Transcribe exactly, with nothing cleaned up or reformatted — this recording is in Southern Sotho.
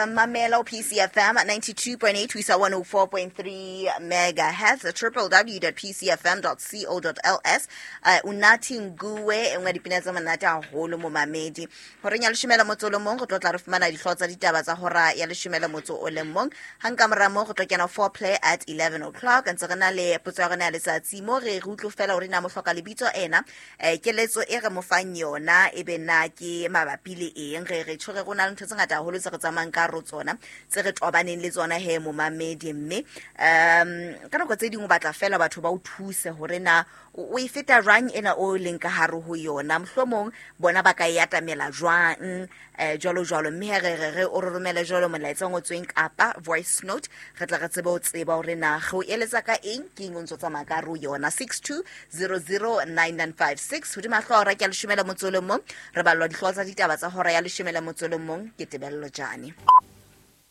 Mamela o P C F M ninety-two point eight ho isa one oh four point three megahertz, triple w dot p c f m dot co dot l s. Uh, Unathi Nguwe, e nngwe ya dipina tse monate haholo momamedi. Horeng ya leshome le motso o le mong re tlo tla re fumana dihlooho tsa ditaba tsa hora ya leshome le motso o le mong. Hang ka mora moo re tlo kena foreplay at eleven o'clock. Ntse re na le potso ya rona ya letsatsi mo re re utlwe fela hore na mo hloka lebitso ena, eh, keletso e re mo fang yona e be na ke mabapi le eng. Re re tjho re rona le ntho tse ngata haholo tse re tsamayang ka ro tsona, tse re tobaneng le tsona he momamedi. Mme um ka nako tse ding o batla fela batho ba o thuse hore na o e feta jwang ena o leng ka hare ho yona, mohlomong bona ba ka e atamela jwang, eh, jwalo jwalo. Mme he re re re o re romele jwalo molaetsa o ngotsweng kapa voice note, re tla re tsebe ho tseba hore na re o eletsa ka eng, ke eng o ntso tsamaya ka hare ho yona. six two zero zero nine nine five six. Hodima hlooho hora ke ya leshome le motso o le mong, re ballwa dihlooho tsa ditaba tsa hora ya leshome le motso o le mong ke Tebello Jane.